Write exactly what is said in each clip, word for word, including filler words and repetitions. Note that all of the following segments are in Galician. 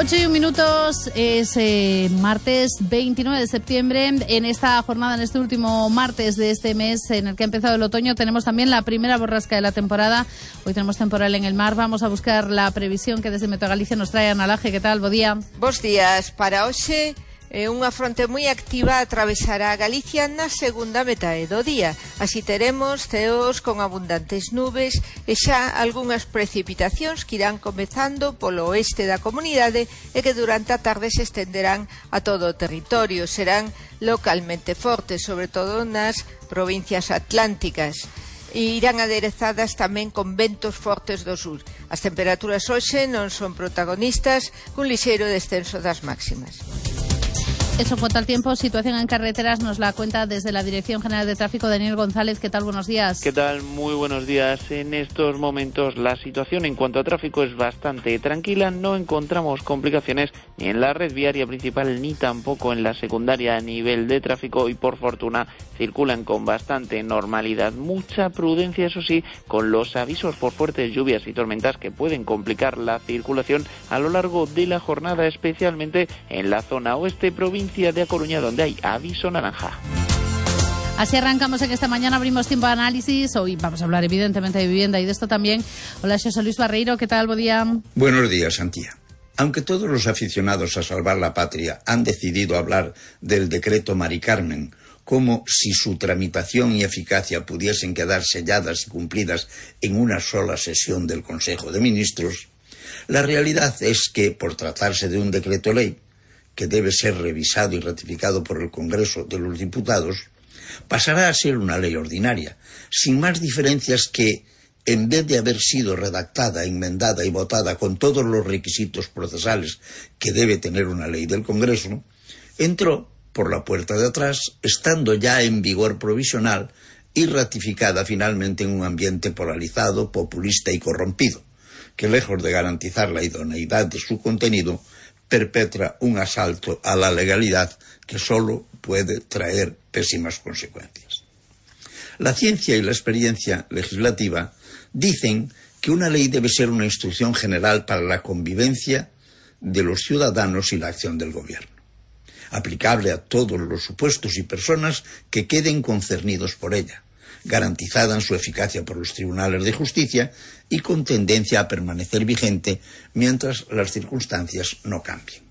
ocho y un minutos, es eh, martes veintinueve de septiembre. En esta jornada, en este último martes de este mes en el que ha empezado el otoño, tenemos también la primera borrasca de la temporada. Hoy tenemos temporal en el mar. Vamos a buscar la previsión que desde Meteo Galicia nos trae Ana Laje. ¿Qué tal? Bo día. Bos días. Para hoxe, eh, unha fronte moi activa atravesará Galicia na segunda metade do día. Así teremos ceos con abundantes nubes e xa algunhas precipitacións que irán comezando polo oeste da comunidade e que durante a tarde se estenderán a todo o territorio. Serán localmente fortes, sobre todo nas provincias atlánticas. E irán aderezadas tamén con ventos fortes do sur. As temperaturas hoxe non son protagonistas, cun lixeiro descenso das máximas. Eso en cuanto al tiempo. Situación en carreteras nos la cuenta desde la Dirección General de Tráfico Daniel González. ¿Qué tal? Buenos días. ¿Qué tal? Muy buenos días. En estos momentos la situación en cuanto a tráfico es bastante tranquila. No encontramos complicaciones ni en la red viaria principal ni tampoco en la secundaria a nivel de tráfico y por fortuna circulan con bastante normalidad. Mucha prudencia, eso sí, con los avisos por fuertes lluvias y tormentas que pueden complicar la circulación a lo largo de la jornada, especialmente en la zona oeste, provincia de A Coruña, donde hay aviso naranja. Así arrancamos en esta mañana, abrimos tiempo de análisis. Hoy vamos a hablar evidentemente de vivienda y de esto también. Hola, José Luis Barreiro, ¿qué tal? Buen día. Buenos días, Antía. Aunque todos los aficionados a salvar la patria han decidido hablar del decreto Mari Carmen como si su tramitación y eficacia pudiesen quedar selladas y cumplidas en una sola sesión del Consejo de Ministros, la realidad es que, por tratarse de un decreto ley, que debe ser revisado y ratificado por el Congreso de los Diputados, pasará a ser una ley ordinaria, sin más diferencias que, en vez de haber sido redactada, enmendada y votada con todos los requisitos procesales que debe tener una ley del Congreso, entró por la puerta de atrás, estando ya en vigor provisional y ratificada finalmente en un ambiente polarizado, populista y corrompido, que lejos de garantizar la idoneidad de su contenido, perpetra un asalto a la legalidad que solo puede traer pésimas consecuencias. La ciencia y la experiencia legislativa dicen que una ley debe ser una instrucción general para la convivencia de los ciudadanos y la acción del gobierno, aplicable a todos los supuestos y personas que queden concernidos por ella, garantizada en su eficacia por los tribunales de justicia y con tendencia a permanecer vigente mientras las circunstancias no cambien.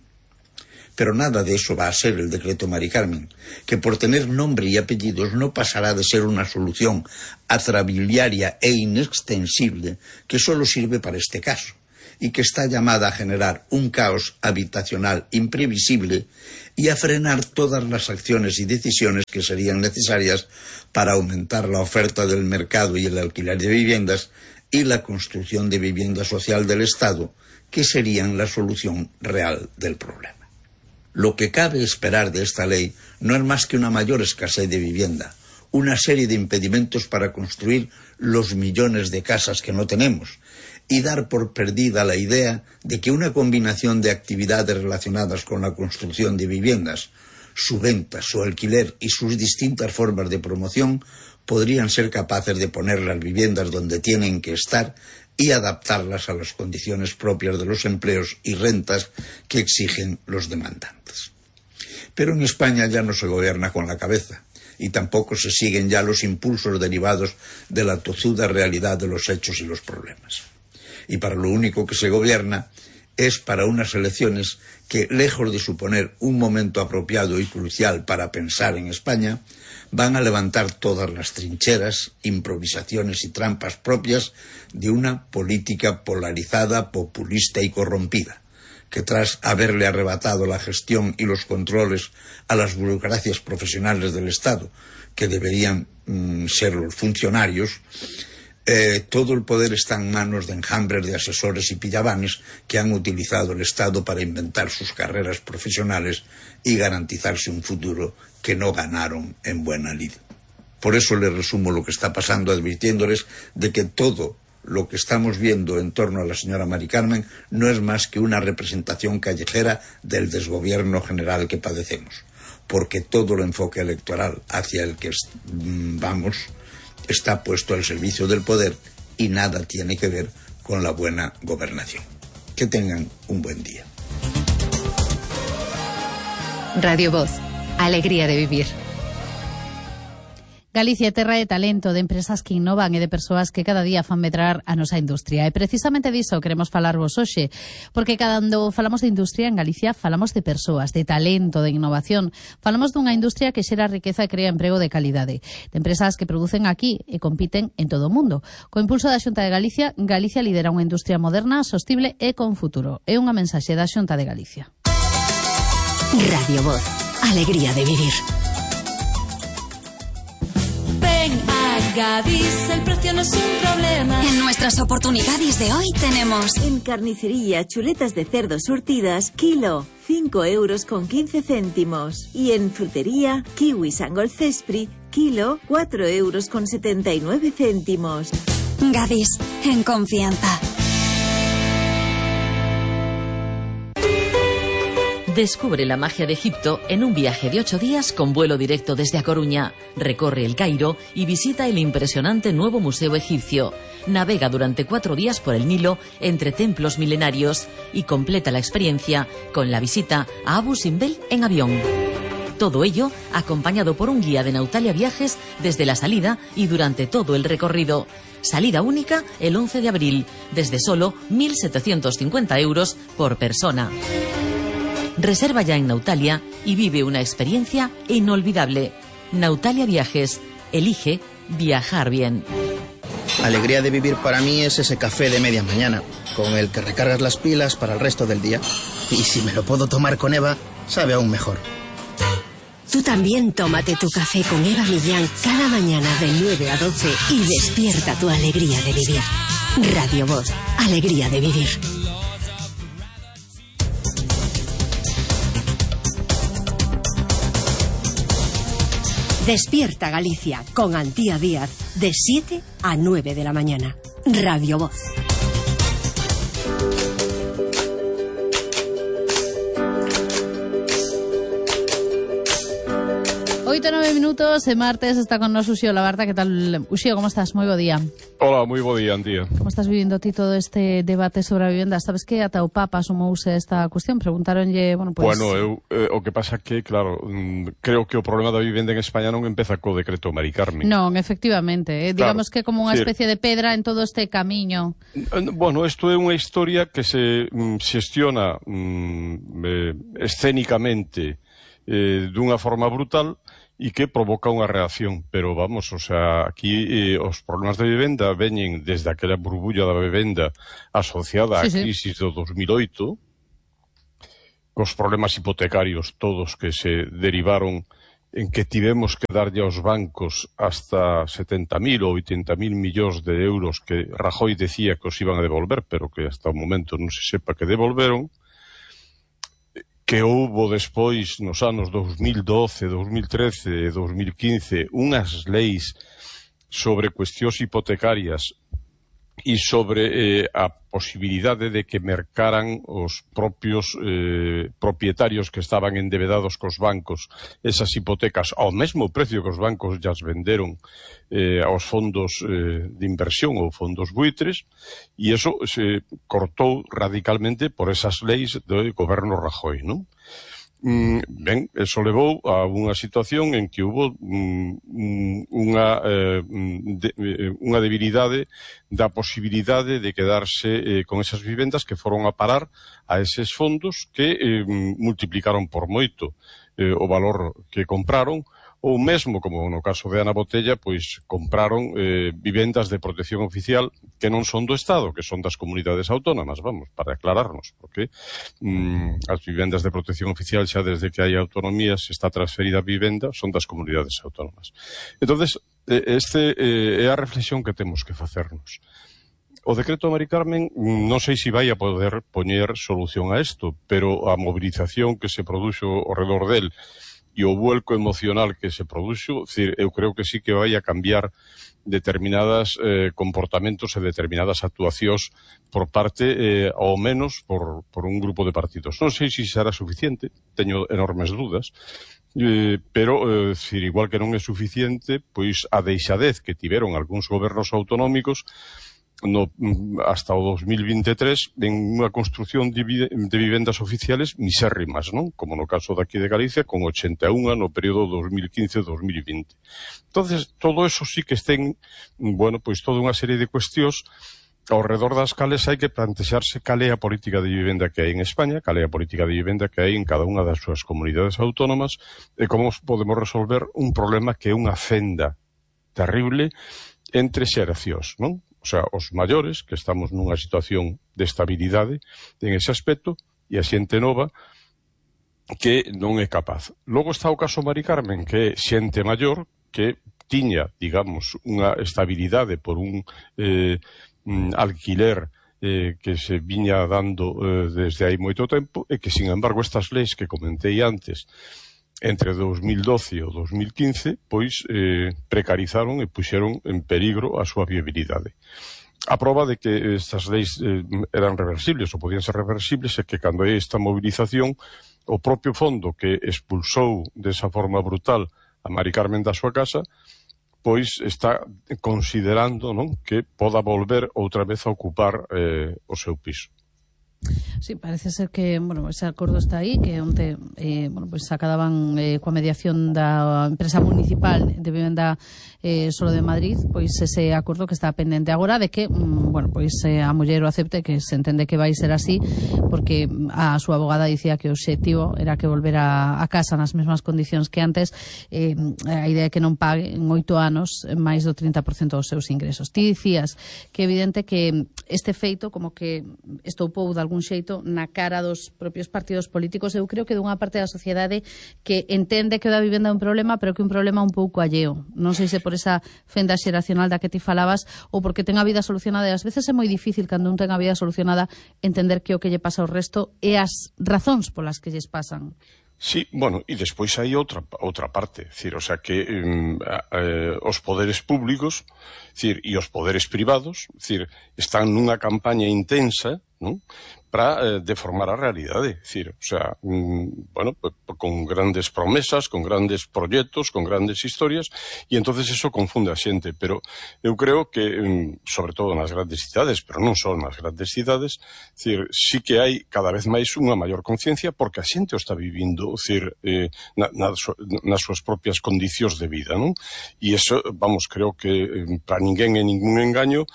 Pero nada de eso va a ser el decreto Mari Carmen, que por tener nombre y apellidos no pasará de ser una solución atrabiliaria e inextensible que solo sirve para este caso y que está llamada a generar un caos habitacional imprevisible y a frenar todas las acciones y decisiones que serían necesarias para aumentar la oferta del mercado y el alquiler de viviendas y la construcción de vivienda social del Estado, que serían la solución real del problema. Lo que cabe esperar de esta ley no es más que una mayor escasez de vivienda, una serie de impedimentos para construir los millones de casas que no tenemos, y dar por perdida la idea de que una combinación de actividades relacionadas con la construcción de viviendas, su venta, su alquiler y sus distintas formas de promoción podrían ser capaces de poner las viviendas donde tienen que estar y adaptarlas a las condiciones propias de los empleos y rentas que exigen los demandantes. Pero en España ya no se gobierna con la cabeza y tampoco se siguen ya los impulsos derivados de la tozuda realidad de los hechos y los problemas. Y para lo único que se gobierna es para unas elecciones que, lejos de suponer un momento apropiado y crucial para pensar en España, van a levantar todas las trincheras, improvisaciones y trampas propias de una política polarizada, populista y corrompida, que tras haberle arrebatado la gestión y los controles a las burocracias profesionales del Estado, que deberían mm, ser los funcionarios, Eh, todo el poder está en manos de enjambres de asesores y pillabanes que han utilizado el Estado para inventar sus carreras profesionales y garantizarse un futuro que no ganaron en buena lid. Por eso les resumo lo que está pasando, advirtiéndoles de que todo lo que estamos viendo en torno a la señora Mari Carmen no es más que una representación callejera del desgobierno general que padecemos, porque todo el enfoque electoral hacia el que vamos está puesto al servicio del poder y nada tiene que ver con la buena gobernación. Que tengan un buen día. Radio Voz, alegría de vivir. Galicia é terra de talento, de empresas que innovan e de persoas que cada día fan medrar a nosa industria. E precisamente diso queremos falarvos hoxe, porque cando falamos de industria en Galicia falamos de persoas, de talento, de innovación. Falamos dunha industria que xera riqueza e crea emprego de calidade, de empresas que producen aquí e compiten en todo o mundo. Co impulso da Xunta de Galicia, Galicia lidera unha industria moderna, sostible e con futuro. É unha mensaxe da Xunta de Galicia. Radio Voz, alegría de vivir. Ven a Gadis, el precio no es un problema. En nuestras oportunidades de hoy tenemos... En carnicería, chuletas de cerdo surtidas, kilo, cinco euros con quince céntimos. Y en frutería, kiwi Sangol Cespri, kilo, cuatro euros con setenta y nueve céntimos. Gadis, en confianza. Descubre la magia de Egipto en un viaje de ocho días con vuelo directo desde A Coruña. Recorre el Cairo y visita el impresionante nuevo museo egipcio. Navega durante cuatro días por el Nilo entre templos milenarios y completa la experiencia con la visita a Abu Simbel en avión. Todo ello acompañado por un guía de Nautalia Viajes desde la salida y durante todo el recorrido. Salida única el once de abril, desde solo mil setecientos cincuenta euros por persona. Reserva ya en Nautalia y vive una experiencia inolvidable. Nautalia Viajes. Elige viajar bien. Alegría de vivir para mí es ese café de media mañana, con el que recargas las pilas para el resto del día. Y si me lo puedo tomar con Eva, sabe aún mejor. Tú también tómate tu café con Eva Millán cada mañana de nueve a doce y despierta tu alegría de vivir. Radio Voz, alegría de vivir. Despierta Galicia con Antía Díaz de siete a nueve de la mañana. Radio Voz. Oito nove minutos, e martes está con nos Uxío Labarta. Que tal, Uxío, como estás? Moi bo día. Hola, moi bo día, Antía. Como estás vivindo ti todo este debate sobre a vivenda? Sabes que ata o Papa sumouse esta cuestión, preguntaronlle, bueno, pues... Bueno, eu, eh, o que pasa que, claro, mm, creo que o problema da vivenda en España non empeza co decreto Mari Carmen. Non, efectivamente, eh, digamos claro, que como unha sí. especie de pedra en todo este camiño. Bueno, isto é unha historia que se mm, xestiona mm, eh, escénicamente eh, dunha forma brutal e que provoca unha reacción, pero vamos, o sea, aquí eh, os problemas de vivenda veñen desde aquela burbulla da vivenda asociada á sí, crisis sí. do dos mil oito, cos problemas hipotecarios todos que se derivaron en que tivemos que darlle aos bancos hasta setenta mil ou oitenta mil millóns de euros que Rajoy decía que os iban a devolver, pero que hasta o momento non se sepa que devolveron, que houbo despois nos anos dos mil doce, dos mil trece e dos mil quince unhas leis sobre cuestións hipotecarias e sobre eh, a posibilidade de que mercaran os propios eh, propietarios que estaban endebedados cos bancos esas hipotecas ao mesmo precio que os bancos llas venderon eh, aos fondos eh, de inversión ou fondos buitres, e eso se cortou radicalmente por esas leis do goberno Rajoy, non? Mm, ben, eso levou a unha situación en que hubo mm, unha, eh, de, unha debilidade da posibilidade de quedarse eh, con esas vivendas que foron a parar a eses fondos que eh, multiplicaron por moito eh, o valor que compraron, ou mesmo, como no caso de Ana Botella, pois compraron eh, vivendas de protección oficial que non son do Estado, que son das comunidades autónomas, vamos, para aclararnos, porque mm, as vivendas de protección oficial xa desde que hai autonomías está transferida a vivenda, son das comunidades autónomas. Entonces, este eh, é a reflexión que temos que facernos. O decreto Mari Carmen non sei se vai a poder poñer solución a isto, pero a movilización que se produxo ao redor del e o vuelco emocional que se produxo, decir, eu creo que sí que vai a cambiar determinadas eh, comportamentos e determinadas actuacións por parte, eh, ao menos, por, por un grupo de partidos. Non sei se será suficiente, teño enormes dudas, eh, pero, eh, decir, igual que non é suficiente, pois a deixadez que tiveron algúns gobernos autonómicos no, hasta o dos mil veintitrés en unha construción de, de vivendas oficiales misérrimas, non? Como no caso daqui de Galicia, con ochenta e unha no período dos mil quince a dos mil vinte. Entonces, todo eso sí que estén, bueno, pois toda unha serie de cuestións ao redor das cales hai que plantexarse cal é a política de vivenda que hai en España, cal é a política de vivenda que hai en cada unha das súas comunidades autónomas e como podemos resolver un problema que é unha fenda terrible entre xeracións, non? O sea, os maiores, que estamos nunha situación de estabilidade en ese aspecto, e a xente nova que non é capaz. Logo está o caso Mari Carmen, que é xente maior que tiña, digamos, unha estabilidade por un eh, alquiler eh, que se viña dando eh, desde hai moito tempo e que, sin embargo, estas leis que comentei antes entre dos mil doce e dos mil quince, pois eh, precarizaron e puxeron en peligro a súa viabilidade. A prova de que estas leis eh, eran reversibles ou podían ser reversibles é que cando hai esta movilización, o propio fondo que expulsou desa forma brutal a Mari Carmen da súa casa, pois está considerando, non, que poda volver outra vez a ocupar eh, o seu piso. Sí, parece ser que, bueno, ese acordo está aí, que onte, eh, bueno, pues acababan eh, coa mediación da empresa municipal de vivenda eh, solo de Madrid, pois ese acordo que está pendente agora de que, mm, bueno, pois eh, a muller o acepte, que se entende que vai ser así, porque a súa abogada dicía que o obxectivo era que volvera a casa nas mesmas condicións que antes, eh, a idea é que non pague en oito anos máis do trinta por cento dos seus ingresos. Ti dicías que é evidente que este feito como que estoupou de algún xeito na cara dos propios partidos políticos. Eu creo que dunha parte da sociedade que entende que o da vivenda é un problema, pero que é un problema un pouco alleo. Non sei se por esa fenda xeracional da que ti falabas ou porque ten a vida solucionada, e ás veces é moi difícil cando un ten a vida solucionada entender que o que lle pasa ao resto e as razóns polas que lles pasan. Sí, bueno, e despois hai outra outra parte, decir, o sea que eh, eh, os poderes públicos, decir, e os poderes privados, decir, están nunha campaña intensa, non? Para eh, deformar a realidade, decir, o sea, mm, bueno, pues, con grandes promesas, con grandes proxectos, con grandes historias, e entonces eso confunde a xente, pero eu creo que, mm, sobre todo nas grandes cidades, pero non só nas grandes cidades, decir, sí que hai cada vez máis unha maior conciencia porque a xente o está vivindo, decir, eh, na, na, nas súas propias condicións de vida, non? E eso, vamos, creo que eh, para ninguén é ningún engaño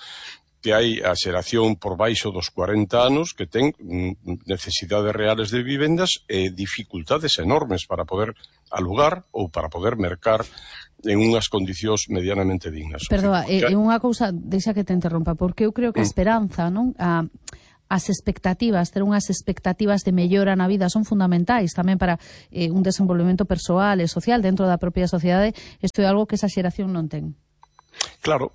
que hai a xeración por baixo dos cuarenta anos que ten necesidades reales de vivendas e dificultades enormes para poder alugar ou para poder mercar en unhas condicións medianamente dignas. Perdoa, é eh, unha cousa, deixa que te interrompa, porque eu creo que a esperanza, non? A as expectativas, ter unhas expectativas de mellora na vida son fundamentais tamén para eh, un desenvolvemento persoal e social dentro da propia sociedade. Isto é algo que esa xeración non ten. Claro,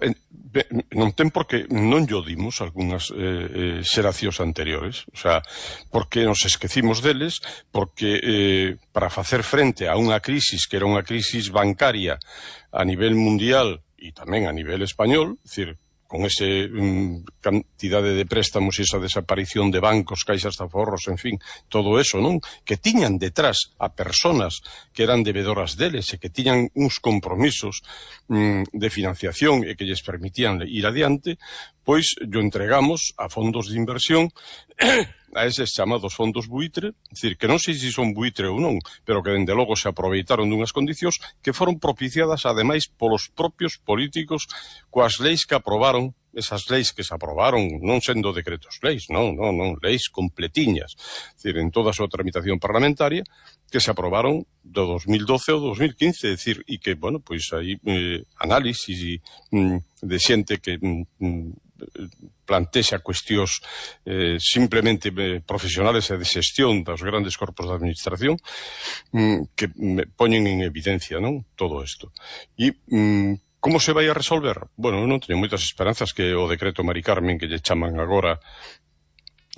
non ten porque non llo dimos algunhas eh, xeracións anteriores, o sea, porque nos esquecimos deles, porque eh, para facer frente a unha crisis que era unha crisis bancaria a nivel mundial e tamén a nivel español, é dicir, con esa um, cantidade de préstamos e esa desaparición de bancos, caixas de aforros, en fin, todo eso, non? Que tiñan detrás a personas que eran debedoras deles e que tiñan uns compromisos um, de financiación e que lles permitían ir adiante, pois yo entregamos a fondos de inversión a eses chamados fondos buitre, é dicir, que non sei se son buitre ou non, pero que dende logo se aproveitaron dunhas condicións que foron propiciadas ademais polos propios políticos coas leis que aprobaron, esas leis que se aprobaron non sendo decretos leis, non, non, non, leis completiñas, é dicir, en toda a súa tramitación parlamentaria, que se aprobaron do dos mil doce ao dos mil quince, é dicir, e que, bueno, pois aí eh, análisis mm, de xente que mm, plantexa cuestións eh, simplemente eh, profesionales e de xestión dos grandes corpos de administración mm, que me poñen en evidencia, non, todo isto. E mm, como se vai a resolver? Bueno, eu non teño moitas esperanzas que o decreto Mari Carmen que lle chaman agora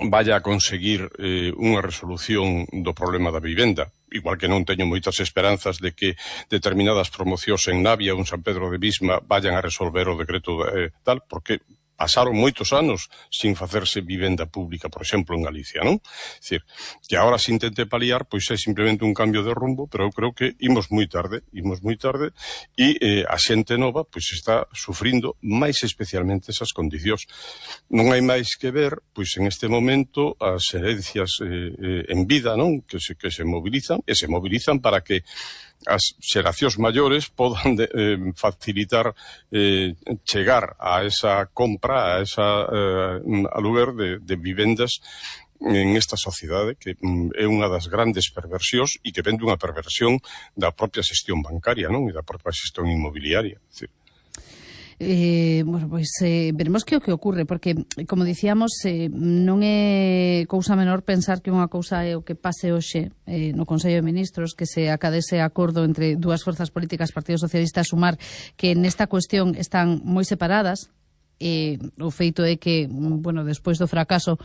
vaya a conseguir eh, unha resolución do problema da vivenda. Igual que non teño moitas esperanzas de que determinadas promocións en Navia ou en San Pedro de Visma vayan a resolver o decreto eh, tal, porque pasaron moitos anos sin facerse vivenda pública, por exemplo, en Galicia, non? É dicir, que agora se intente paliar, pois é simplemente un cambio de rumbo, pero eu creo que imos moi tarde, imos moi tarde, e eh, a xente nova, pois está sufrindo máis especialmente esas condicións. Non hai máis que ver, pois en este momento, as herencias eh, eh, en vida, non? Que se, que se mobilizan, e se mobilizan para que as xeracións maiores podan de, eh, facilitar eh, chegar a esa compra, a esa eh, aluguer de, de vivendas en esta sociedade que mm, é unha das grandes perversións e que ven dunha perversión da propia xestión bancaria, non? E da propia xestión inmobiliaria. É dicir, Eh, bueno, pois eh, veremos que o que ocurre, porque, como dicíamos, eh, non é cousa menor pensar que unha cousa é o que pase hoxe eh, no Consello de Ministros, que se acadese acordo entre dúas forzas políticas, Partido Socialista e Sumar, que nesta cuestión están moi separadas. Eh, o feito é que, bueno, despois do fracaso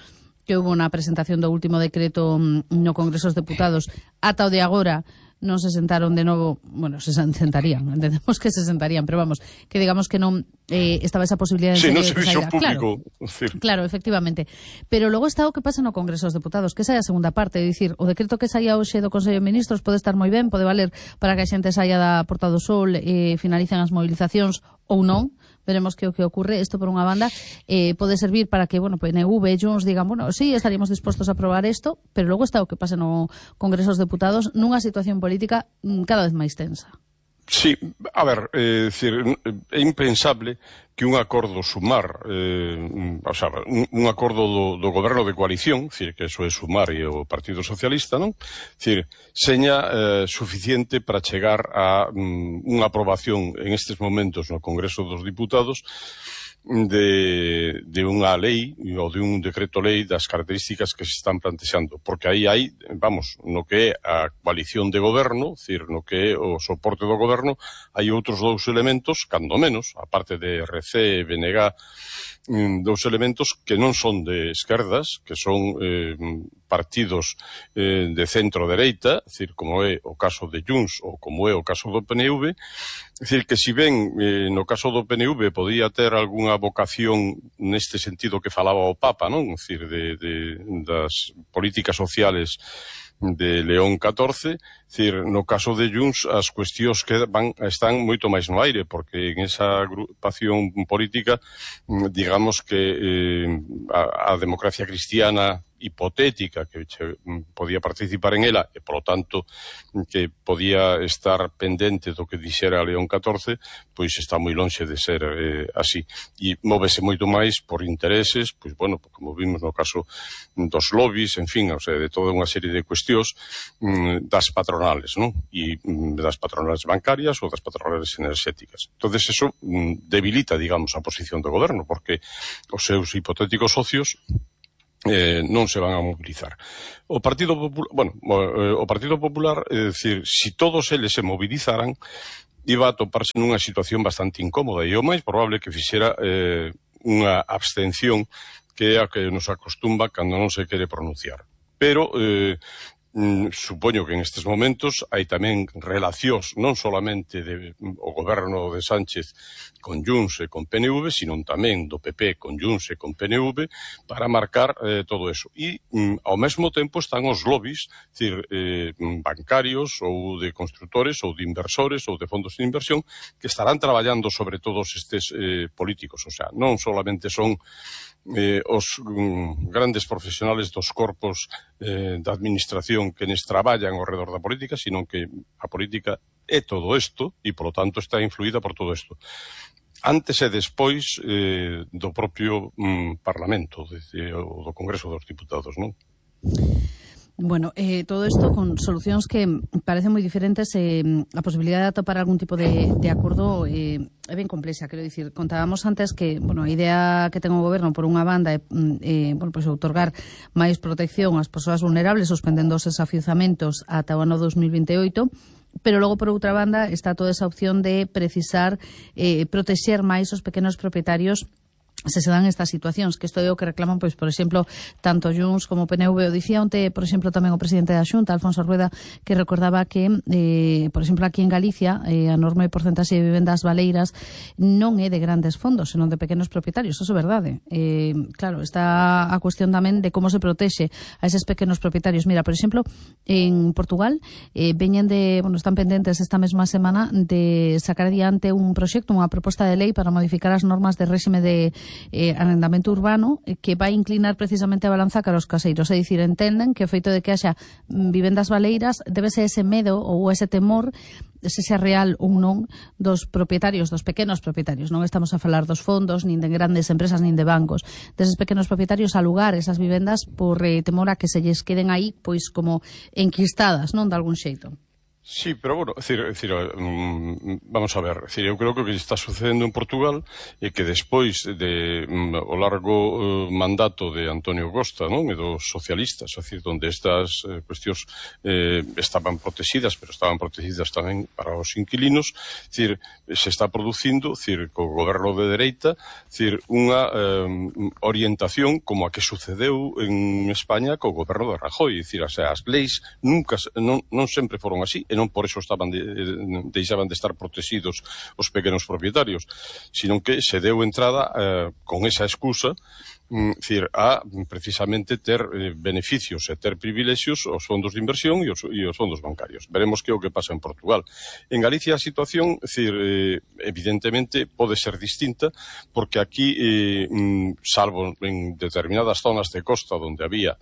que houve na presentación do último decreto no Congreso dos Deputados, ata o de agora non se sentaron de novo, bueno, se sentarían, entendemos que se sentarían, pero vamos, que digamos que non eh, estaba esa posibilidad de... Sí, no servicio público. Claro, claro, efectivamente. Pero logo está o que pasa no Congreso dos Deputados, que esa é a segunda parte, é dicir, o decreto que saía hoxe do Consello de Ministros pode estar moi ben, pode valer para que a xente saia da Porta do Sol e eh, finalicen as movilizacións ou non. Veremos que o que ocurre. Isto, por unha banda, eh, pode servir para que, bueno, P N V e Junts digan, bueno, sí, estaríamos dispostos a aprobar isto, pero logo está o que pasa no Congreso dos Deputados nunha situación política cada vez máis tensa. Sí, a ver, é dicir, é impensable que un acordo Sumar, eh, o sea, un, un acordo do, do goberno de coalición, dicir, que eso é Sumar e o Partido Socialista, non? Dicir, seña eh, suficiente para chegar a um, unha aprobación en estes momentos no Congreso dos Diputados de, de unha lei ou de un decreto lei das características que se están plantexando, porque aí hai, vamos, no que é a coalición de goberno, decir, no que é o soporte do goberno, hai outros dous elementos, cando menos, a parte de R C e B N G, dous elementos que non son de esquerdas, que son eh, partidos eh, de centro-dereita, decir, como é o caso de Junts ou como é o caso do P N V, decir, que si ben eh, no caso do P N V podía ter algunha vocación neste sentido que falaba o Papa, non? Decir, de, de, das políticas sociales de León catorce, decir, no caso de Junts as cuestións que van, están moito máis no aire, porque en esa agrupación política, digamos que eh, a, a democracia cristiana hipotética que che, podía participar en ela e, polo tanto, que podía estar pendente do que dixera León catorce, pois está moi lonxe de ser eh, así. E móvese moito máis por intereses, pois, bueno, como vimos no caso dos lobbies, en fin, o sea, de toda unha serie de cuestións mm, das patronales, non? E mm, das patronales bancarias ou das patronales enerxéticas. Entonces, eso mm, debilita, digamos, a posición do goberno, porque os seus hipotéticos socios Eh, non se van a mobilizar. O Partido Popular, bueno, o Partido Popular, é dicir, si todos eles se movilizaran, iba a toparse nunha situación bastante incómoda e o máis probable que fixera eh, unha abstención que é a que nos acostumba cando non se quere pronunciar. Pero eh, Mm, supoño que en estes momentos hai tamén relacións non solamente de, o goberno de Sánchez con Junts e con P N V, sino tamén do P P con Junts e con P N V para marcar eh, todo eso. E mm, ao mesmo tempo están os lobbies, decir, eh, bancarios ou de constructores ou de inversores ou de fondos de inversión que estarán traballando sobre todos estes eh, políticos. O sea, non solamente son Eh, os um, grandes profesionales dos corpos eh, da administración que nes traballan ao redor da política, sino que a política é todo isto e, polo tanto, está influída por todo isto. Antes e despois eh, do propio um, Parlamento, de, de, o do Congreso dos Diputados, non? Bueno, eh, todo isto con solucións que parecen moi diferentes, eh, a posibilidade de atopar algún tipo de, de acordo eh, é ben complexa, quero dicir, contábamos antes que, bueno, a idea que ten o goberno por unha banda é, eh, bueno, pois outorgar máis protección ás persoas vulnerables suspendendo os desafiuzamentos ata o ano dos mil vinte e oito, pero logo, por outra banda, está toda esa opción de precisar eh, protexer máis os pequenos propietarios se se dan estas situacións, que isto é o que reclaman, pois, por exemplo, tanto Junts como o P N V. O dicía onte, por exemplo, tamén o presidente da Xunta, Alfonso Rueda, que recordaba que, eh, por exemplo, aquí en Galicia, eh, a enorme porcentaxe de vivendas baleiras non é de grandes fondos, senón de pequenos propietarios. Eso é verdade. Eh, claro, está a cuestión tamén de como se protexe a eses pequenos propietarios. Mira, por exemplo, en Portugal, eh, veñen de, bueno, están pendentes esta mesma semana de sacar adiante un proxecto, unha proposta de lei para modificar as normas de réxime de Eh, arrendamento urbano, eh, que vai inclinar precisamente a balanza cara aos caseiros. É dicir, entenden que o feito de que haxa vivendas baleiras debe ser ese medo ou ese temor, se sea real ou non, dos propietarios, dos pequenos propietarios. Non estamos a falar dos fondos, nin de grandes empresas, nin de bancos. Deses pequenos propietarios a alugar esas vivendas por eh, temor a que se lles queden aí, pois, como enquistadas, non, de algún xeito. Sí, pero bueno, é dicir, é dicir, um, vamos a ver, é dicir, eu creo que o que está sucedendo en Portugal é que despois de um, o largo uh, mandato de Antonio Costa, non, e dos socialistas, é dicir, onde estas uh, cuestións eh, estaban protegidas, pero estaban protegidas tamén para os inquilinos, é dicir, se está producindo, é dicir, co goberno de dereita, é dicir, unha um, orientación como a que sucedeu en España co goberno de Rajoy, é dicir, o sea, as leis nunca, non, non sempre foron así, e non por eso estaban de, de, deixaban de estar protegidos os pequenos propietarios, sino que se deu entrada eh, con esa excusa, mm, decir, a precisamente ter eh, beneficios e ter privilexios aos fondos de inversión e os, e os fondos bancarios. Veremos que é o que pasa en Portugal. En Galicia a situación, decir, eh, evidentemente pode ser distinta, porque aquí, eh, mm, salvo en determinadas zonas de costa onde había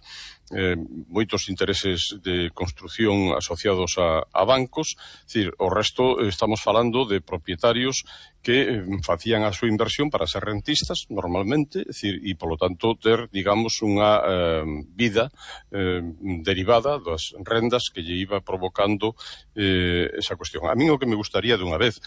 Eh, moitos intereses de construción asociados a, a bancos, decir, o resto eh, estamos falando de propietarios que eh, facían a súa inversión para ser rentistas, normalmente, decir, e polo tanto ter, digamos, unha eh, vida eh, derivada das rendas que lle iba provocando eh, esa cuestión. A mí o que me gustaría de unha vez,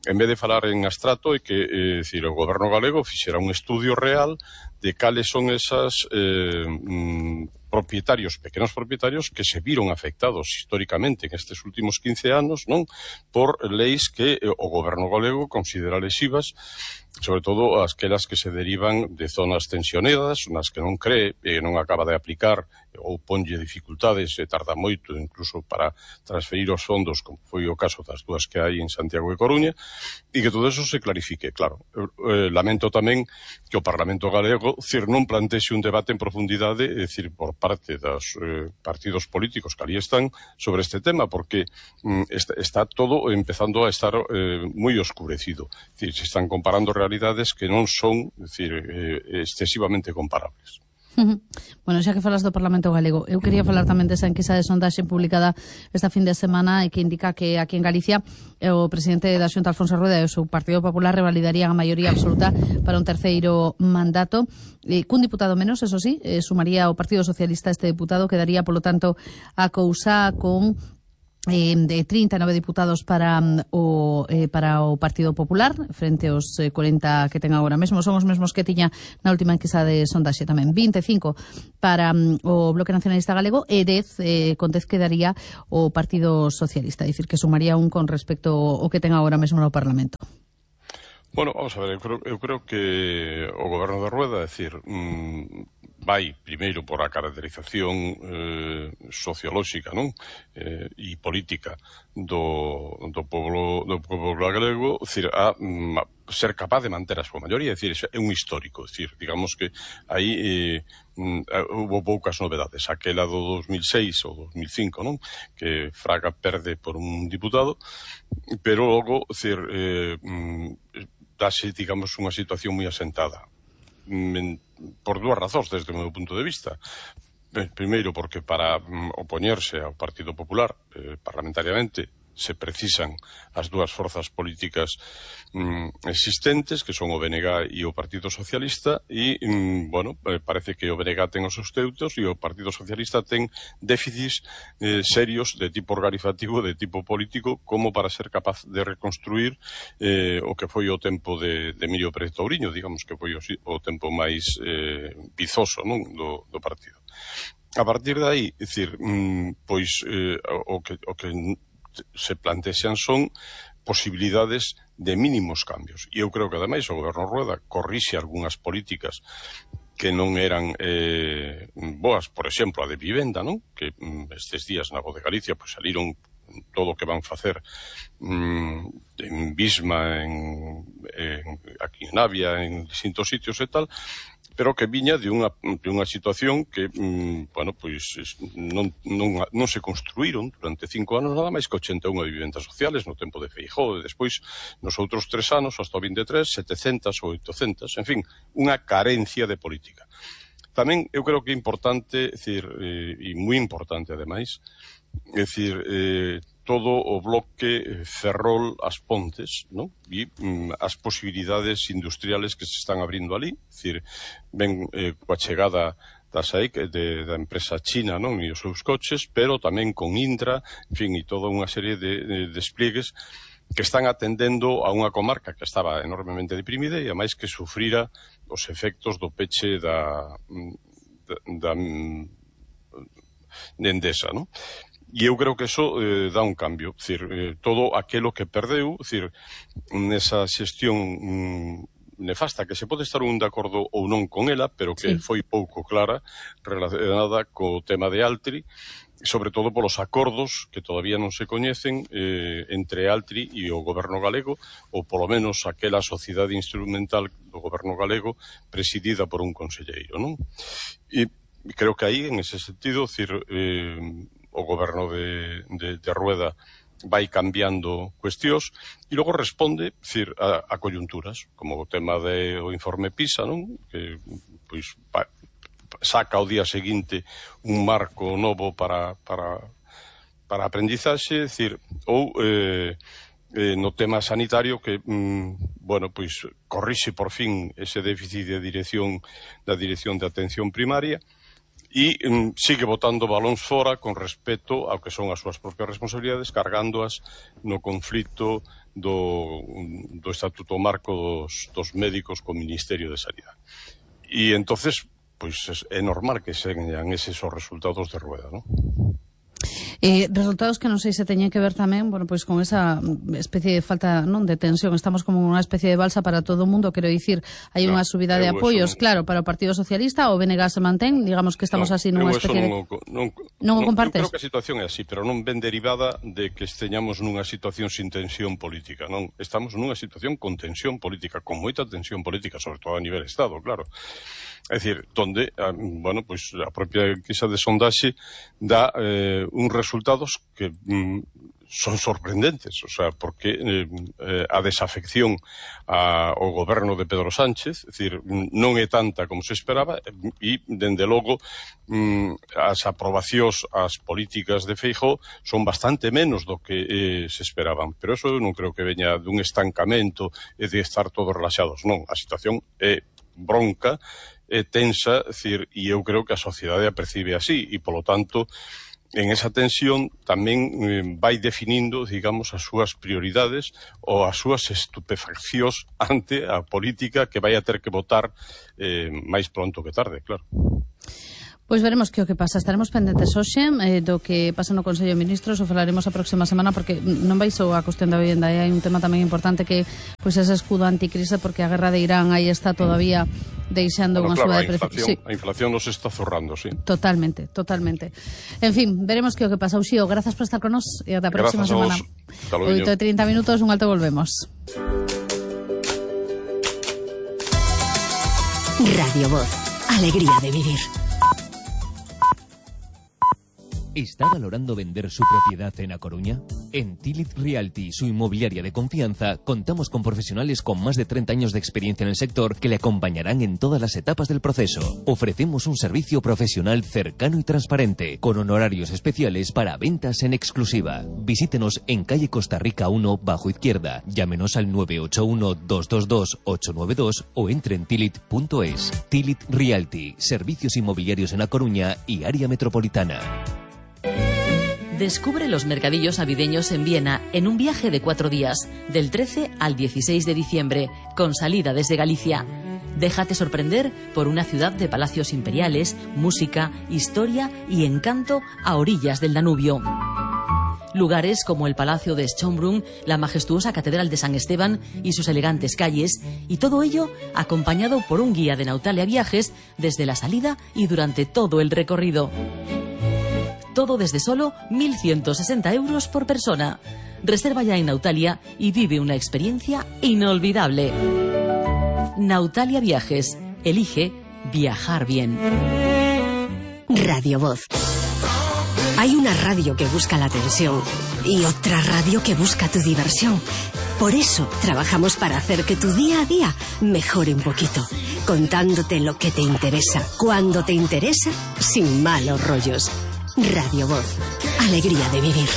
en vez de falar en abstrato, é que eh, decir, o goberno galego fixera un estudio real de cales son esas eh, mm, propietarios, pequenos propietarios que se viron afectados históricamente en estes últimos quince anos, non, por leis que eh, o goberno galego considera lesivas, sobre todo aquelas que se derivan de zonas tensionadas, nas que non cree e non acaba de aplicar ou ponlle dificultades e tarda moito incluso para transferir os fondos, como foi o caso das dúas que hai en Santiago e Coruña, e que todo eso se clarifique. Claro, eh, lamento tamén que o Parlamento galego, decir, non plantexe un debate en profundidade, é dicir, por parte dos eh, partidos políticos que ali están sobre este tema, porque mm, está, está todo empezando a estar eh, moi oscurecido. É dicir, se están comparando realidades que non son, é dicir, eh, excesivamente comparables. Bueno, xa que falas do Parlamento Galego, eu quería falar tamén desa enquisa de sondaxe publicada esta fin de semana e que indica que aquí en Galicia o presidente da Xunta, Alfonso Rueda, e o seu Partido Popular revalidarían a maioría absoluta para un terceiro mandato, eh, cun diputado menos, eso sí, eh, sumaría o Partido Socialista este diputado, quedaría, polo tanto, a cousa con Eh, de trinta e nove diputados para um, o eh, para o Partido Popular frente aos eh, cuarenta que ten agora mesmo. Son os mesmos que tiña na última enquisa de sondaxe tamén. vinte e cinco para um, o Bloque Nacionalista Galego e dez, eh, con dez quedaría o Partido Socialista, é dicir, que sumaría un con respecto ao que ten agora mesmo no Parlamento. Bueno, vamos a ver, eu creo, eu creo que o goberno de Rueda, é dicir, mmm, vai primeiro por a caracterización eh, sociolóxica, non? Eh, e política do, do povo do povo galego, é dicir, a, a ser capaz de manter a súa maioría, é dicir, é un histórico, é dicir, digamos que aí eh, hubo poucas novedades, aquela do dos mil seis ou dos mil cinco, non? Que Fraga perde por un diputado, pero logo, é dicir, eh, dase, digamos, unha situación moi asentada. Por dúas razóns desde o meu punto de vista. Primeiro, porque para mm, opoñerse ao Partido Popular eh, parlamentariamente se precisan as dúas forzas políticas mm, existentes, que son o B N G e o Partido Socialista, e, mm, bueno, eh, parece que o B N G ten os seus teutos e o Partido Socialista ten déficits eh, serios de tipo organizativo, de tipo político, como para ser capaz de reconstruir eh, o que foi o tempo de, de Emilio Pérez Touriño, digamos que foi o, o tempo máis eh, vizoso, non, do, do partido. A partir de aí, é dicir, mm, pois eh, o que, o que se plantexan son posibilidades de mínimos cambios. E eu creo que, ademais, o goberno Rueda corrixe algunhas políticas que non eran eh, boas, por exemplo, a de vivenda, non? Que mm, estes días na Voz de Galicia pues, saliron todo o que van facer mm, en Bisma, en, en, aquí en Navia, en distintos sitios e tal, pero que viña de unha, de unha situación que, mm, bueno, pois non, non, non se construíron durante cinco anos nada máis que ochenta e unha vivendas sociales no tempo de Feijóo, e despois nos outros tres anos, hasta o vinte e tres, setecentas ou oitocentas, en fin, unha carencia de política. Tamén eu creo que é importante, decir, eh, e moi importante ademais, é dicir, eh, todo o bloque Ferrol as Pontes, ¿no? E mm, as posibilidades industriales que se están abrindo ali, é dicir, ven eh, coa chegada da S A I C, de, da empresa china, non? E os seus coches, pero tamén con Indra, en fin, e toda unha serie de, de despliegues que están atendendo a unha comarca que estaba enormemente deprimida e, ademais, que sufrira os efectos do peche da, da, da de Endesa, non? E eu creo que eso eh, dá un cambio, é dicir, eh, todo aquelo que perdeu, é dicir, nesa xestión mm, nefasta, que se pode estar un de acordo ou non con ela, pero que sí. foi pouco clara, relacionada co tema de Altri, sobre todo polos acordos que todavía non se coñecen eh, entre Altri e o goberno galego, ou polo menos aquela sociedade instrumental do goberno galego presidida por un conselleiro, non? E creo que aí, en ese sentido, decir, eh, o goberno de, de, de Rueda vai cambiando cuestións e logo responde, decir, a, a coyunturas, como o tema do informe PISA, non? Que, pois, pa, saca ao día seguinte un marco novo para, para, para aprendizaxe, decir, ou eh, eh, no tema sanitario que, mm, bueno, pois corrixe por fin ese déficit de dirección da dirección de atención primaria e mm, sigue botando balóns fora con respecto ao que son as súas propias responsabilidades, cargándoas no conflito do, do Estatuto Marco dos, dos médicos co Ministerio de Sanidade. E entonces, pois é normal que sean eses os resultados de Rueda, non? Eh, resultados que non sei se teñen que ver tamén, bueno, pois con esa especie de falta, non, de tensión. Estamos como unha especie de balsa para todo o mundo, quero dicir, hai unha no, subida de apoios, non... claro, para o Partido Socialista, o B N G se mantén, digamos que estamos no, así nunha especie non, de... Non, non o compartes? Eu creo que a situación é así, pero non ven derivada de que esteñamos nunha situación sin tensión política, non? Estamos nunha situación con tensión política, con moita tensión política, sobre todo a nivel Estado, claro. É dicir, donde, bueno, pois a propia enquisa de sondaxe dá eh, uns resultados que mm, son sorprendentes, o sea, porque eh, eh, a desafección a, ao goberno de Pedro Sánchez, é dicir, non é tanta como se esperaba e, dende logo, mm, as aprobacións ás políticas de Feijóo son bastante menos do que eh, se esperaban, pero eso non creo que veña dun estancamento e de estar todos relaxados, non, a situación é bronca, é tensa, decir, e eu creo que a sociedade a percibe así, e polo tanto, en esa tensión tamén eh, vai definindo, digamos, as súas prioridades ou as súas estupefaccións ante a política que vai a ter que votar eh, máis pronto que tarde, claro. Pois veremos que o que pasa. Estaremos pendentes hoxe eh, do que pasa no Consello de Ministros, o falaremos a próxima semana, porque non vai só a cuestión da vivenda, hai un tema tamén importante que pois ese escudo anticrise, porque a guerra de Irán aí está todavía deixando bueno, unha claro, suba de precios. Sí. A inflación nos está zorrando, sí. Totalmente, totalmente. En fin, veremos que o que pasa. Uxío, grazas por estar con nos e ata a próxima semana. oito e trinta minutos, un alto, volvemos. Radio Voz, alegría de vivir. ¿Está valorando vender su propiedad en A Coruña? En Tilit Realty, su inmobiliaria de confianza, contamos con profesionales con más de treinta años de experiencia en el sector que le acompañarán en todas las etapas del proceso. Ofrecemos un servicio profesional cercano y transparente, con honorarios especiales para ventas en exclusiva. Visítenos en calle Costa Rica uno, bajo izquierda. Llámenos al nueve ocho uno, dos dos dos, ocho nueve dos o entre en tilit punto es. Tilit Realty, servicios inmobiliarios en A Coruña y área metropolitana. Descubre los mercadillos navideños en Viena en un viaje de cuatro días, del trece al dieciséis de diciembre, con salida desde Galicia. Déjate sorprender por una ciudad de palacios imperiales, música, historia y encanto a orillas del Danubio. Lugares como el Palacio de Schönbrunn, la majestuosa Catedral de San Esteban y sus elegantes calles, y todo ello acompañado por un guía de Nautalia Viajes desde la salida y durante todo el recorrido. Todo desde solo mil ciento sesenta euros por persona. Reserva ya en Nautalia y vive una experiencia inolvidable. Nautalia Viajes. Elige viajar bien. Radio Voz. Hay una radio que busca la atención y otra radio que busca tu diversión. Por eso trabajamos para hacer que tu día a día mejore un poquito, contándote lo que te interesa, cuando te interesa, sin malos rollos. Radio Voz. Alegría de vivir.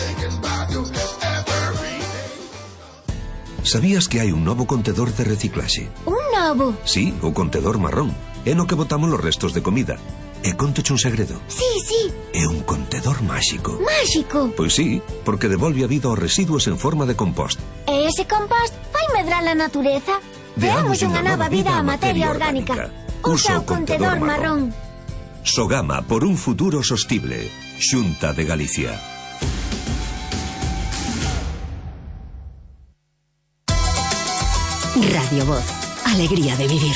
¿Sabías que hai un novo contedor de reciclaxe? Un novo? Sí, o contedor marrón. É no que botamos os restos de comida. E contoche un segredo. Sí, sí. É un contedor máxico. Máxico? Pois sí, porque devolve a vida aos residuos en forma de compost. E ese compost vai medrar a natureza? Deamos unha nova vida á materia orgánica. Usa o contedor marrón. Sogama por un futuro sostible. Xunta de Galicia. Radio Voz. Alegría de vivir.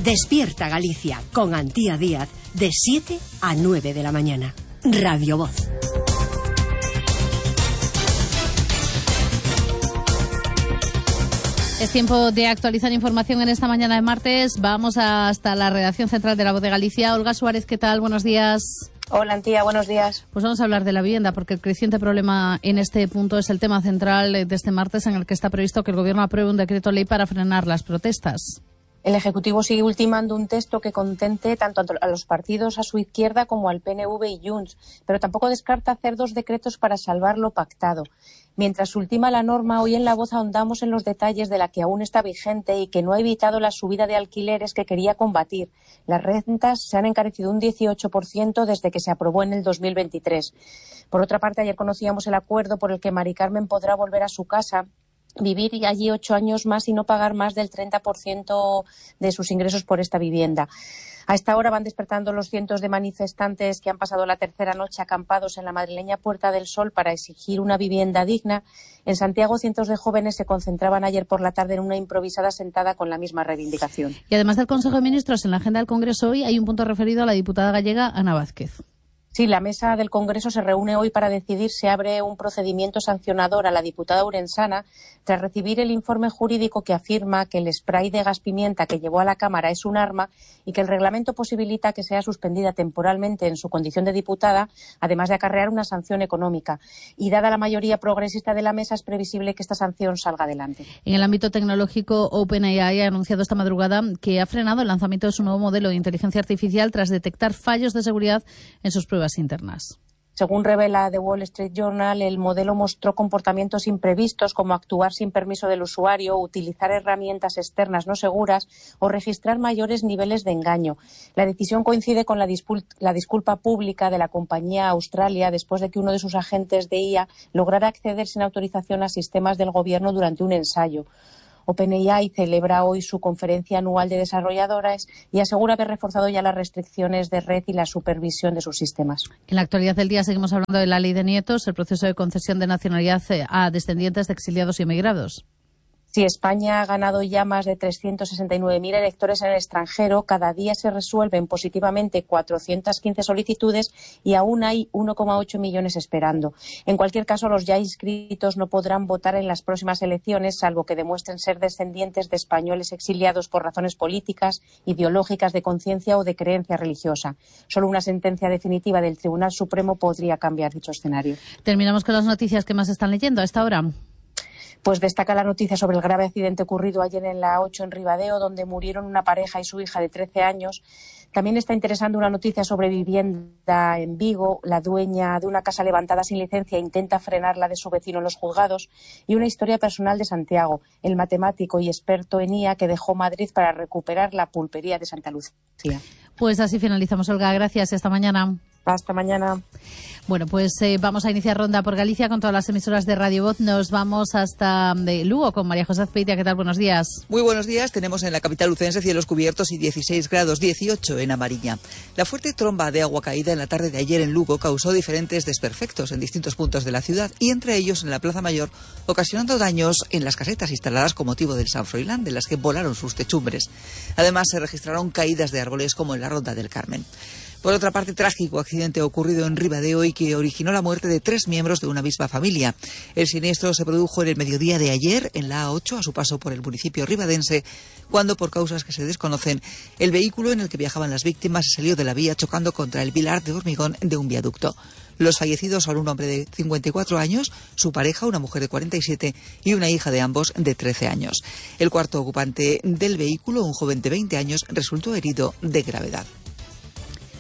Despierta Galicia con Antía Díaz de siete a nueve de la mañana. Radio Voz. Es tiempo de actualizar información en esta mañana de martes. Vamos hasta la redacción central de La Voz de Galicia. Olga Suárez, ¿qué tal? Buenos días. Hola, Antía, buenos días. Pues vamos a hablar de la vivienda, porque el creciente problema en este punto es el tema central de este martes, en el que está previsto que el Gobierno apruebe un decreto ley para frenar las protestas. El Ejecutivo sigue ultimando un texto que contente tanto a los partidos a su izquierda como al P N V y Junts, pero tampoco descarta hacer dos decretos para salvar lo pactado. Mientras ultima la norma, hoy en La Voz ahondamos en los detalles de la que aún está vigente y que no ha evitado la subida de alquileres que quería combatir. Las rentas se han encarecido un dieciocho por ciento desde que se aprobó en el dos mil veintitrés. Por otra parte, ayer conocíamos el acuerdo por el que Mari Carmen podrá volver a su casa, vivir allí ocho años más y no pagar más del treinta por ciento de sus ingresos por esta vivienda. A esta hora van despertando los cientos de manifestantes que han pasado la tercera noche acampados en la madrileña Puerta del Sol para exigir una vivienda digna. En Santiago, cientos de jóvenes se concentraban ayer por la tarde en una improvisada sentada con la misma reivindicación. Y además del Consejo de Ministros, en la agenda del Congreso hoy hay un punto referido a la diputada gallega Ana Vázquez. Sí, la mesa del Congreso se reúne hoy para decidir si abre un procedimiento sancionador a la diputada urensana tras recibir el informe jurídico que afirma que el spray de gas pimienta que llevó a la Cámara es un arma y que el reglamento posibilita que sea suspendida temporalmente en su condición de diputada, además de acarrear una sanción económica. Y dada la mayoría progresista de la mesa, es previsible que esta sanción salga adelante. En el ámbito tecnológico, OpenAI ha anunciado esta madrugada que ha frenado el lanzamiento de su nuevo modelo de inteligencia artificial tras detectar fallos de seguridad en sus pruebas internas. Según revela The Wall Street Journal, el modelo mostró comportamientos imprevistos como actuar sin permiso del usuario, utilizar herramientas externas no seguras o registrar mayores niveles de engaño. La decisión coincide con la, discul- la disculpa pública de la compañía Australia después de que uno de sus agentes de I A lograra acceder sin autorización a sistemas del gobierno durante un ensayo. OpenAI celebra hoy su conferencia anual de desarrolladores y asegura haber reforzado ya las restricciones de red y la supervisión de sus sistemas. En la actualidad del día seguimos hablando de la ley de nietos, el proceso de concesión de nacionalidad a descendientes de exiliados y emigrados. Si España ha ganado ya más de trescientos sesenta y nueve mil electores en el extranjero, cada día se resuelven positivamente cuatrocientas quince solicitudes y aún hay uno coma ocho millones esperando. En cualquier caso, los ya inscritos no podrán votar en las próximas elecciones, salvo que demuestren ser descendientes de españoles exiliados por razones políticas, ideológicas, de conciencia o de creencia religiosa. Solo una sentencia definitiva del Tribunal Supremo podría cambiar dicho escenario. Terminamos con las noticias que más están leyendo a esta hora. Pues destaca la noticia sobre el grave accidente ocurrido ayer en la ocho en Ribadeo, donde murieron una pareja y su hija de trece años. También está interesando una noticia sobre vivienda en Vigo. La dueña de una casa levantada sin licencia intenta frenar la de su vecino en los juzgados. Y una historia personal de Santiago, el matemático y experto en I A que dejó Madrid para recuperar la pulpería de Santa Lucía. Pues así finalizamos, Olga. Gracias y hasta mañana. Hasta mañana. Bueno, pues eh, vamos a iniciar ronda por Galicia con todas las emisoras de Radio Voz. Nos vamos hasta de Lugo con María José Azpeitia. ¿Qué tal? Buenos días. Muy buenos días. Tenemos en la capital lucense cielos cubiertos y dieciséis grados, dieciocho en A Mariña. La fuerte tromba de agua caída en la tarde de ayer en Lugo causó diferentes desperfectos en distintos puntos de la ciudad y entre ellos en la Plaza Mayor, ocasionando daños en las casetas instaladas con motivo del San Froilán, de las que volaron sus techumbres. Además, se registraron caídas de árboles como en la Ronda del Carmen. Por otra parte, trágico accidente ocurrido en Ribadeo y que originó la muerte de tres miembros de una misma familia. El siniestro se produjo en el mediodía de ayer en la A ocho, a su paso por el municipio ribadense, cuando, por causas que se desconocen, el vehículo en el que viajaban las víctimas salió de la vía chocando contra el pilar de hormigón de un viaducto. Los fallecidos son un hombre de cincuenta y cuatro años, su pareja, una mujer de cuarenta y siete y una hija de ambos de trece años. El cuarto ocupante del vehículo, un joven de veinte años, resultó herido de gravedad.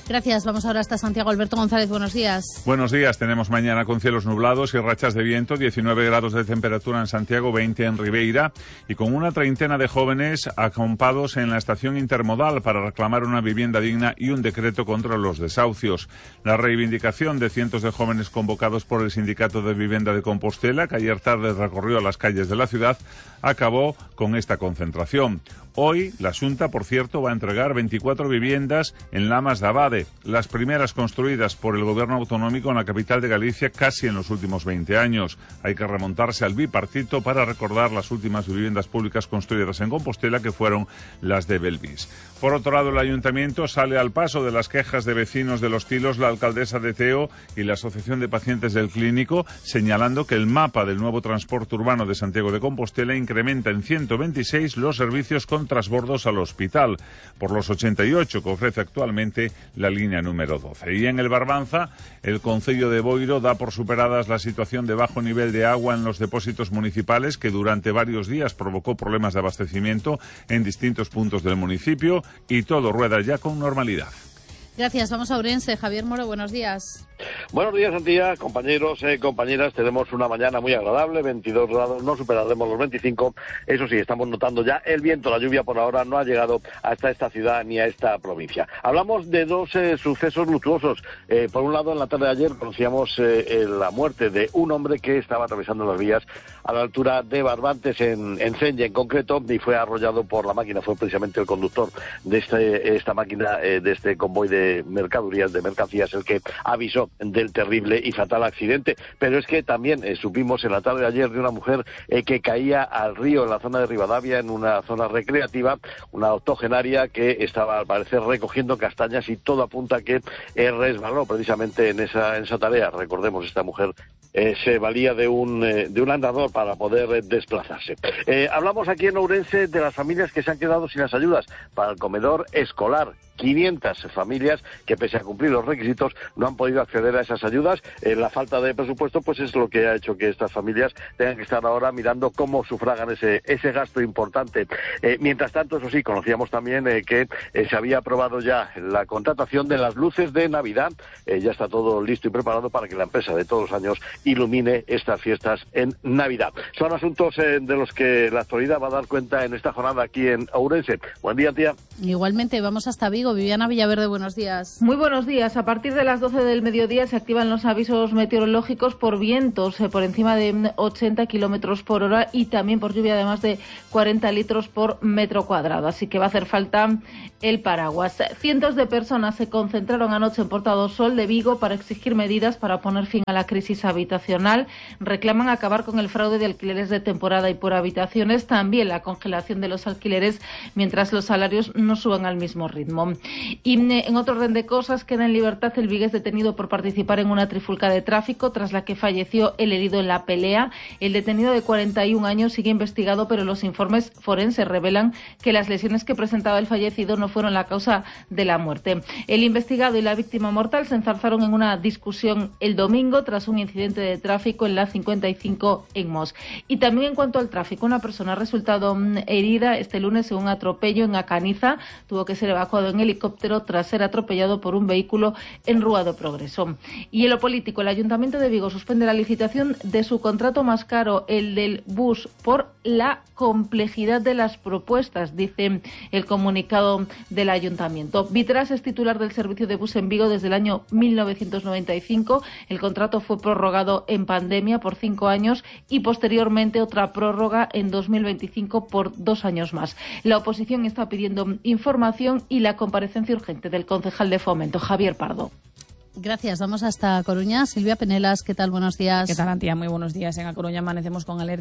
Gracias. Vamos ahora hasta Santiago. Alberto González, buenos días. Buenos días. Tenemos mañana con cielos nublados y rachas de viento, diecinueve grados de temperatura en Santiago, veinte en Ribeira, y con una treintena de jóvenes acampados en la estación intermodal para reclamar una vivienda digna y un decreto contra los desahucios. La reivindicación de cientos de jóvenes convocados por el Sindicato de Vivienda de Compostela, que ayer tarde recorrió las calles de la ciudad, acabó con esta concentración. Hoy, la Xunta, por cierto, va a entregar veinticuatro viviendas en Lamas de Abade, las primeras construidas por el gobierno autonómico en la capital de Galicia casi en los últimos veinte años. Hay que remontarse al bipartito para recordar las últimas viviendas públicas construidas en Compostela, que fueron las de Belvis. Por otro lado, el ayuntamiento sale al paso de las quejas de vecinos de Los Tilos, la alcaldesa de Teo y la Asociación de Pacientes del Clínico, señalando que el mapa del nuevo transporte urbano de Santiago de Compostela incrementa en ciento veintiséis los servicios con transbordos al hospital, por los ochenta y ocho que ofrece actualmente la línea número doce. Y en el Barbanza, el concello de Boiro da por superadas la situación de bajo nivel de agua en los depósitos municipales, que durante varios días provocó problemas de abastecimiento en distintos puntos del municipio, y todo rueda ya con normalidad. Gracias. Vamos a Ourense. Javier Moro, buenos días. Buenos días, Antía, compañeros, eh, compañeras. Tenemos una mañana muy agradable, veintidós grados, no superaremos los veinticinco. Eso sí, estamos notando ya el viento, la lluvia por ahora no ha llegado hasta esta ciudad ni a esta provincia. Hablamos de dos eh, sucesos luctuosos. Eh, por un lado, en la tarde de ayer conocíamos eh, la muerte de un hombre que estaba atravesando las vías a la altura de Barbantes, en, en Cenya en concreto, y fue arrollado por la máquina. Fue precisamente el conductor de este, esta máquina, eh, de este convoy de mercaderías, de mercancías, el que avisó del terrible y fatal accidente. Pero es que también eh, supimos en la tarde de ayer de una mujer eh, que caía al río en la zona de Rivadavia, en una zona recreativa, una octogenaria que estaba al parecer recogiendo castañas, y todo apunta a que eh, resbaló precisamente en esa, en esa tarea. Recordemos, esta mujer eh, se valía de un, eh, de un andador para poder eh, desplazarse. Eh, hablamos aquí en Ourense de las familias que se han quedado sin las ayudas para el comedor escolar. quinientas familias que, pese a cumplir los requisitos, no han podido acceder a esas ayudas. Eh, la falta de presupuesto pues es lo que ha hecho que estas familias tengan que estar ahora mirando cómo sufragan ese, ese gasto importante. Eh, mientras tanto, eso sí, conocíamos también eh, que eh, se había aprobado ya la contratación de las luces de Navidad. Eh, ya está todo listo y preparado para que la empresa de todos los años ilumine estas fiestas en Navidad. Son asuntos eh, de los que la actualidad va a dar cuenta en esta jornada aquí en Ourense. Buen día, tía. Igualmente, vamos hasta Vigo. Viviana Villaverde, buenos días. Muy buenos días. A partir de las doce del mediodía se activan los avisos meteorológicos por vientos eh, por encima de ochenta kilómetros por hora y también por lluvia de más de cuarenta litros por metro cuadrado. Así que va a hacer falta el paraguas. Cientos de personas se concentraron anoche en Porta do Sol de Vigo para exigir medidas para poner fin a la crisis habitacional. Reclaman acabar con el fraude de alquileres de temporada y por habitaciones, también la congelación de los alquileres mientras los salarios no suban al mismo ritmo. Y en otro orden de cosas, queda en libertad el vigués detenido por participar en una trifulca de tráfico, tras la que falleció el herido en la pelea. El detenido de cuarenta y un años sigue investigado, pero los informes forenses revelan que las lesiones que presentaba el fallecido no fueron la causa de la muerte. El investigado y la víctima mortal se enzarzaron en una discusión el domingo tras un incidente de tráfico en la cincuenta y cinco en Mos. Y también en cuanto al tráfico, una persona ha resultado herida este lunes en un atropello en Acaniza. Tuvo que ser evacuado en en helicóptero tras ser atropellado por un vehículo en Rúa do Progreso. Y en lo político, el Ayuntamiento de Vigo suspende la licitación de su contrato más caro, el del bus, por la complejidad de las propuestas, dice el comunicado del Ayuntamiento. Vitras es titular del servicio de bus en Vigo desde el año mil novecientos noventa y cinco. El contrato fue prorrogado en pandemia por cinco años y posteriormente otra prórroga en dos mil veinticinco por dos años más. La oposición está pidiendo información y la comparecencia urgente del concejal de Fomento, Javier Pardo. Gracias. Vamos hasta Coruña. Silvia Penelas, ¿qué tal? Buenos días. ¿Qué tal, Antía? Muy buenos días. En A Coruña amanecemos con alerta